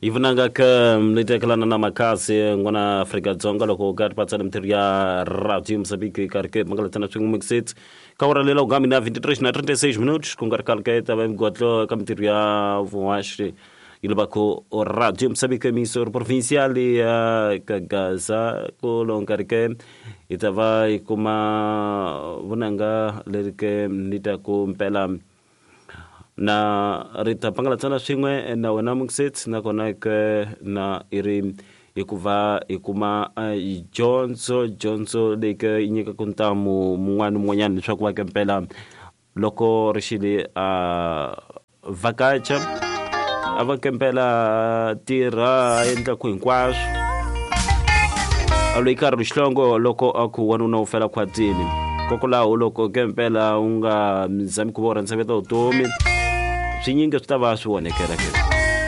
Yi vunanga ka mlitekelana na makhasi n'wana Afrika-Dzonga loko u karhi patsana mintirho ya radio Mozambique yi karhi ke mangalatana swin'we mixit ka ora lela ugami na 23 na 36 minutos ku nga ri khale ke ta va migotlo ka mintirho ya vuhaxi yi lava ku radio Mozambique emissor provincial ya ka Gaza ku lo nkarhi ke hi ta va yi kuma vunanga leri ke ni ta ku mpela na ri ta pangalatsana swin'we na wena mukset nakona ke na i ri hikuva hi kuma dyondzo dyondzo leyi ke yi nyikaka ntamu mun'wana ni mun'wanyana leswaku va ke mpela loko ri xile a vhakacha a va ke mpela tirha a endlaku hinkwaswo a loyi karhi xihlongo loko a ku wanuna u fela khwatini kokwalaho loko ke mpela u nga zami ku va u rhandza veta vutomi swinyingi swi ta va swi onhekela ke.